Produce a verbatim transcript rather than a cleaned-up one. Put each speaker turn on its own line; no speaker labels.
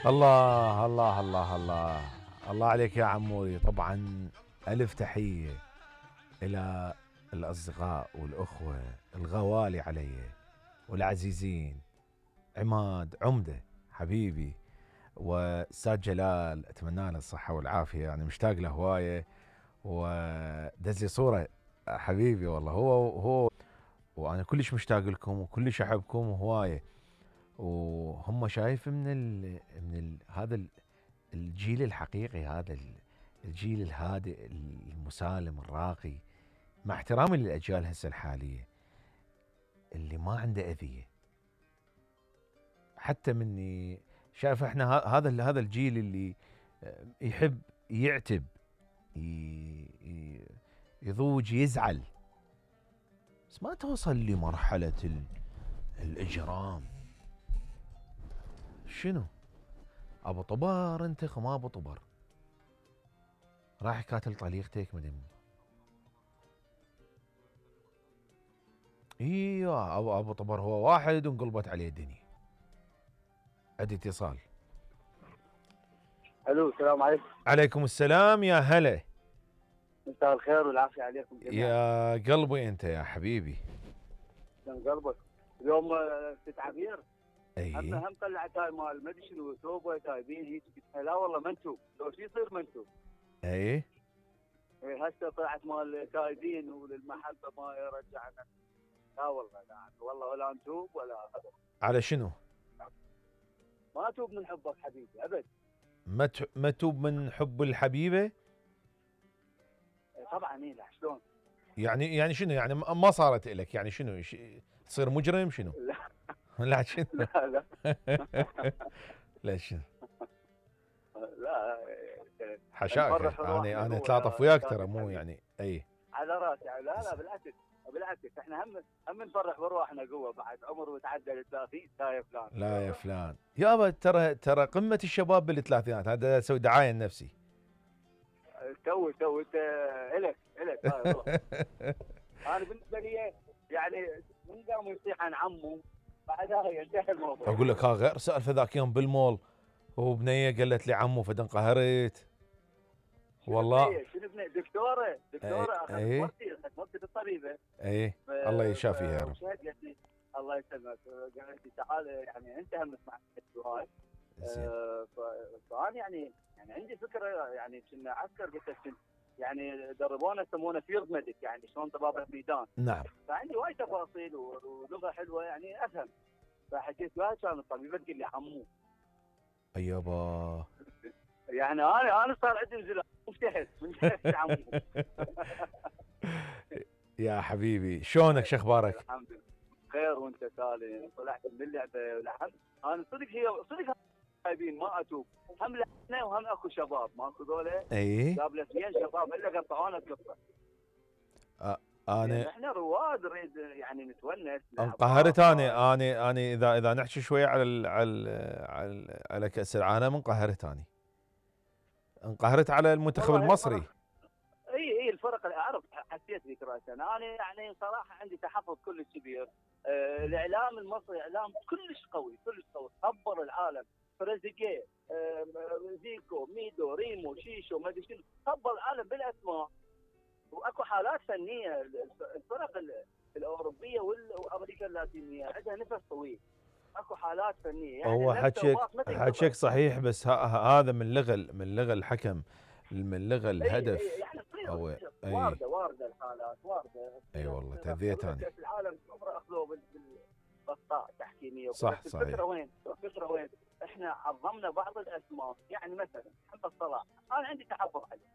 الله الله الله الله الله عليك يا عموري. طبعا ألف تحية إلى الأصدقاء والأخوة الغوالي علي والعزيزين، عماد عمدة حبيبي وأستاذ جلال، أتمنى له الصحة والعافية، يعني مشتاق له هواية، ودز لي صورة حبيبي والله. هو هو وأنا كلش مشتاق لكم وكلش أحبكم هواية، وهم شايف من ال من ال هذا الجيل الحقيقي، هذا الجيل الهادئ المسالم الراقي، مع احترامي للأجيال هسه الحالية اللي ما عنده أذية. حتى مني شايف احنا هذا هذا الجيل اللي يحب يعتب يضوج يزعل، بس ما توصل لمرحلة الإجرام. شنو ابو طبر انت خما ابو طبر راح قاتل طليقتك مدم. ايوه ابو ابو طبر هو واحد وانقلبت عليه الدنيا. عندي اتصال.
الو السلام عليكم.
عليكم السلام يا هلا.
مساء الخير والعافيه عليكم جميعا.
يا قلبي انت يا حبيبي.
من قلبك. اليوم ست عبير.
اي
هم هم طلعت هاي مال ما ادري شنو توبه تايبين هيك. لا والله منتوب، لو شو يصير منتوب.
اي
اي هسه طلعت مال تايبين وللمحبه ما يرجعنا. لا والله لا والله ولا نتوب ولا هذا.
على شنو؟
ما اتوب من حبك حبيبي ابد.
ما ما توب من حب الحبيبه؟
طبعا اي. لا شلون؟
يعني يعني شنو يعني ما صارت لك؟ يعني شنو تصير مجرم شنو؟
لا
لا شنو؟
لا لا
لا شنو؟
لا
حشاك انا انا اتلاطف وياك ترى مو يعني اي
على راسي. لا لا بالعكس بالعكس احنا هم هم نفرح بروحنا قوه بعد عمر وتعدى ال ثلاثين. لا يا فلان
لا يا فلان يابا ترى ترى قمه الشباب بالثلاثينات. هذا اسوي دعايه لنفسي.
تو تو انت الك الك انا بالنسبه لي يعني من قام يصيح عن عمه بعدها ينتهي الموضوع.
اقول لك ها غير سالفه ذاك يوم بالمول وبنيه قالت لي عمو فدنقهرت والله.
شنو بنيه؟ دكتوره دكتوره اخذت
ايه
مرتي اخذت مرتي بالطبيبه.
ايه الله يشافيها يا رب.
الله يسلمك. قالت لي تعال يعني انت هم تسمع هاي. آه فانا يعني يعني عندي فكره يعني كنا عسكر قلت يعني دربونا يسمونه فيلد ميديك يعني شلون طبابه ميدان.
نعم.
فعندي وايد تفاصيل ولغه حلوه يعني افهم. فحكيت وياها كان الطبيبه تقول لي عمو.
ايابا
يعني انا انا صار عندي انزلاق مفتحت مفتحت عمو.
يا حبيبي شلونك شو اخبارك؟
الحمد لله خير وانت سالم. طلعت من اللعبه ولحن انا صدق هي صدق جايبين ما اتوب. هم لحنا وهم اكو شباب ماكو ذولا.
اي
جاب لي اثنين شباب الا قطعونا القصه.
أه انا
يعني احنا رواد نريد يعني نتونس.
انقهرت انا انا انا اذا اذا نحكي شويه على ال على ال على, ال على كاس العالم انقهرت انا. انقهرت على المنتخب المصري.
اي اي الفرق اللي اعرف حسيت بك راسا. انا يعني صراحه عندي تحفظ كلش كبير. آه الاعلام المصري اعلام كلش قوي كلش قوي. خبر العالم تريزيجيه آه زيكو ميدو ريمو شيشو ما ادري شنو. خبر العالم بالاسماء. واكو حالات فنيه. الفرق الاوروبيه والامريكا اللاتينيه عندها نفس طويل. اكو حالات فنيه يعني
هو حكيك حكيك صحيح بس هذا من لغه من لغه الحكم من لغه الهدف.
أي أي يعني
أو
أي وارده وارده الحالات وارده.
اي والله تذيت انا.
كاس العالم عمره اخذوه بالاخطاء التحكيميه.
صح صحيح.
الفكره وين؟ الفكره وين؟ احنا عظمنا بعض الاسماء يعني مثلا محمد صلاح انا عندي تحفظ عليه.